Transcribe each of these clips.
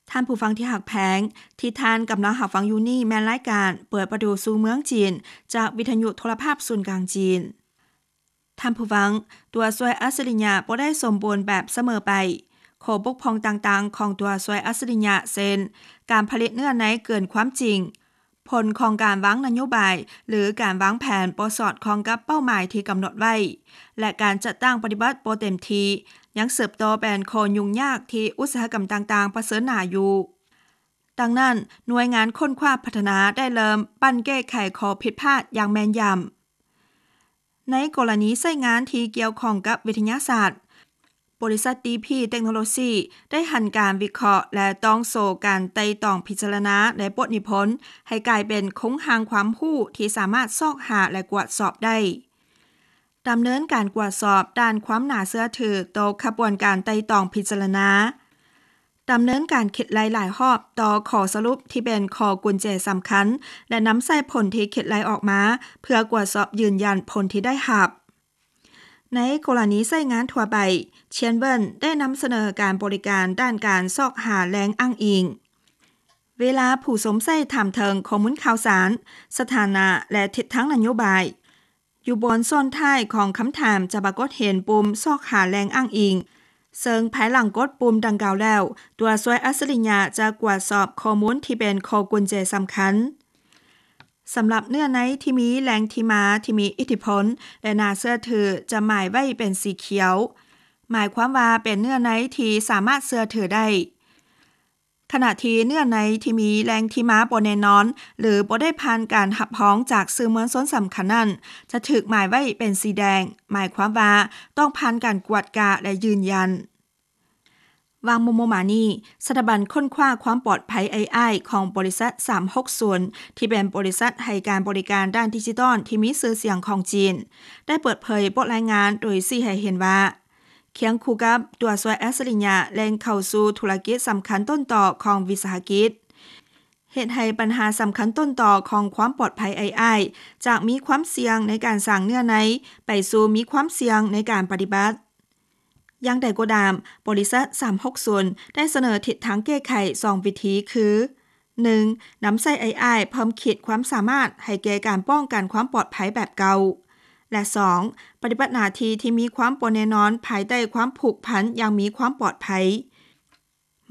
ທ່ານຜູ້ຟັງທີ່ຮັກແພງ, ທີ່ທ່ານກຳລັງຮັບຟັງຢູ່ນີ້ແມ່ນລາຍການເປີດປະຕູສູ່ເມືອງຈີນ ຈາກວິທະຍຸໂທລະພາບສູນກາງຈີນ. ທ່ານຜູ້ຟັງ, ຕົວຊ່ວຍອັດສະລິຍະບໍ່ໄດ້ສົມບູນແບບສະເໝີໄປ. ຂໍ້ບົກຜ່ອງຕ່າງໆຂອງຕົວຊ່ວຍອັດສະລິຍະ ເຊັ່ນ ການຜະລິດເນື້ອໃນເກີນຄວາມຈິງ, ຜົນຂອງການວາງນະໂຍບາຍ ຫຼື ການວາງແຜນບໍ່ສອດຄ່ອງກັບເປົ້າໝາຍທີ່ກຳນົດໄວ້ ແລະ ການຈັດຕັ້ງປະຕິບັດບໍ່ເຕັມທີ່ ຍັງສືບຕໍ່ເປັນຂໍ້ຫຍຸ້ງຍາກທີ່ອຸດສາຫະກຳຕ່າງໆປະເຊີນໜ້າຢູ່. ດັ່ງນັ້ນ, ໜ່ວຍງານຄົ້ນຄວ້າພັດທະນາໄດ້ເລີ່ມປັ້ນແກ້ໄຂຂໍ້ຜິດພາດຢ່າງແມ່ນຢຳ. ໃນກໍລະນີໃຊ້ງານທີ່ກ່ຽວຂ້ອງກັບວິທະຍາສາດ, ບໍລິສັດ ດີພີ Technology ໄດ້ຫັນການວິເຄາະ ແລະ ຕ້ອງໂຊການໄຕ່ຕອງພິຈາລະນາ ແລະ ບົດນິພົນ ໃຫ້ກາຍເປັນໂຄງຮ່າງຄວາມຮູ້ທີ່ສາມາດຊອກຫາ ແລະ ກວດສອບໄດ້. ດຳເນີນການກວດສອບດ້ານຄວາມໜ້າເຊື່ອຖືຕໍ່ຂະບວນການໄຕ່ຕອງພິຈາລະນາ. ດຳເນີນການຄິດໄລ່ຫຼາຍຮອບຕໍ່ຂໍ້ສະຫຼຸບທີ່ເປັນຂໍ້ກຸນແຈສຳຄັນ ແລະ ນຳໃຊ້ຜົນທີ່ຄິດໄລ່ອອກມາເພື່ອກວດສອບຢືນຢັນຜົນທີ່ໄດ້ຮັບ. ໃນກໍລະນີໃຊ້ງານທົ່ວໄປ, ຊຽນເວິນໄດ້ນຳສະເໜີການບໍລິການດ້ານການຊອກຫາແຫຼ່ງອ້າງອີງ. ເວລາຜູ້ຊົມໃຊ້ຖາມເຖິງຂໍ້ມູນຂ່າວສານ, ສະຖານະ ແລະ ທິດທາງນະໂຍບາຍ, ຢູ່ບ່ອນສ່ວນທ້າຍຂອງຄຳຖາມຈະປາກົດເຫັນປຸ່ມຊອກຫາແຫຼ່ງອ້າງອີງ, ເຊິ່ງພາຍຫຼັງກົດປຸ່ມດັ່ງກ່າວແລ້ວ, ຕົວຊ່ວຍອັດສະລິຍະຈະກວດສອບຂໍ້ມູນທີ່ເປັນຂໍ້ກຸນແຈສຳຄັນ. ສຳລັບເນື້ອໃນທີ່ມີແຫຼ່ງທີ່ມາທີ່ມີອິດທິພົນ ແລະ ໜ້າເຊື່ອຖື ຈະໝາຍໄວ້ເປັນສີຂຽວ, ໝາຍຄວາມວ່າເປັນເນື້ອໃນທີ່ສາມາດເຊື່ອຖືໄດ້. ຂະນະທີ່ເນື້ອໃນທີ່ມີແຫຼ່ງທີ່ມາບໍ່ແນ່ນອນ ຫຼື ບໍ່ໄດ້ຜ່ານການຮັບຮອງຈາກສື່ມວນຊົນສຳຄັນນັ້ນ ຈະຖືກໝາຍໄວ້ເປັນສີແດງ, ໝາຍຄວາມວ່າຕ້ອງຜ່ານການກວດກາ ແລະ ຢືນຢັນ. ຫວ່າງມໍ່ໆມານີ້, ສະຖາບັນຄົ້ນຄວ້າຄວາມປອດໄພ ເອໄອ ຂອງບໍລິສັດ ສາມຫົກສູນ ທີ່ເປັນບໍລິສັດໃຫ້ການບໍລິການດ້ານດິຈິຕອນທີ່ມີຊື່ສຽງຂອງຈີນ ໄດ້ເປີດເຜີຍບົດລາຍງານໂດຍຊີ້ໃຫ້ເຫັນວ່າ ຄຽງຄູ່ກັບຕົວຊ່ວຍອັດສະລິຍະເລັ່ງເຂົ້າສູ່ທຸລະກິດສຳຄັນຕົ້ນຕໍຂອງວິສາຫະກິດ, ເຮັດໃຫ້ບັນຫາສຳຄັນຕົ້ນຕໍຂອງຄວາມປອດໄພ ເອໄອ ຈາກມີຄວາມສ່ຽງໃນການສ້າງເນື້ອໃນ ໄປສູ່ມີຄວາມສ່ຽງໃນການປະຕິບັດ. ຢ່າງໃດກໍຕາມ, ບໍລິສັດ ສາມຫົກສູນ ໄດ້ສະເໜີທິດທາງແກ້ໄຂສອງວິທີຄື ໜຶ່ງ ນຳໃຊ້ ເອໄອ ເພີ່ມຂີດຄວາມສາມາດໃຫ້ແກ່ການປ້ອງກັນຄວາມປອດໄພແບບເກົ່າ ແລະ ສອງ ປະຕິບັດໜ້າທີ່ທີ່ມີຄວາມບໍ່ແນ່ນອນພາຍໃຕ້ຄວາມຜູກພັນຢ່າງມີຄວາມປອດໄພ.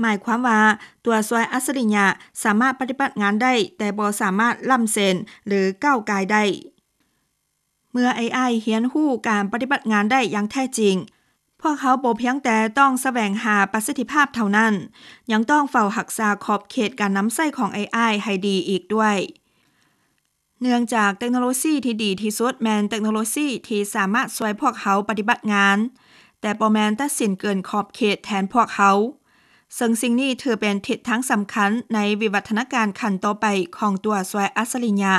ໝາຍຄວາມວ່າ ຕົວຊ່ວຍອັດສະລິຍະສາມາດປະຕິບັດງານໄດ້, ແຕ່ບໍ່ສາມາດລ້ຳເສັ້ນ ຫຼື ກ້າວກ່າຍໄດ້. ເມື່ອ ເອໄອ ຮຽນຮູ້ການປະຕິບັດງານໄດ້ຢ່າງແທ້ຈິງ, ພວກເຮົາບໍ່ພຽງແຕ່ຕ້ອງສະແຫວງຫາປະສິດທິພາບເທົ່ານັ້ນ, ຍັງຕ້ອງເຝົ້າຮັກສາຂອບເຂດການນຳໃຊ້ຂອງ ເອໄອ ໃຫ້ດີອີກດ້ວຍ. ເນື່ອງຈາກເຕັກໂນໂລຊີທີ່ດີທີ່ສຸດແມ່ນເຕັກໂນໂລຊີທີ່ສາມາດຊ່ວຍພວກເຮົາປະຕິບັດງານ, ແຕ່ບໍ່ແມ່ນຕັດສິນເກີນຂອບເຂດແທນພວກເຮົາ, ເຊິ່ງສິ່ງນີ້ຖືເປັນທິດທາງສຳຄັນໃນວິວັດທະນາການຂັ້ນຕໍ່ໄປຂອງຕົວຊ່ວຍອັດສະລິຍະ.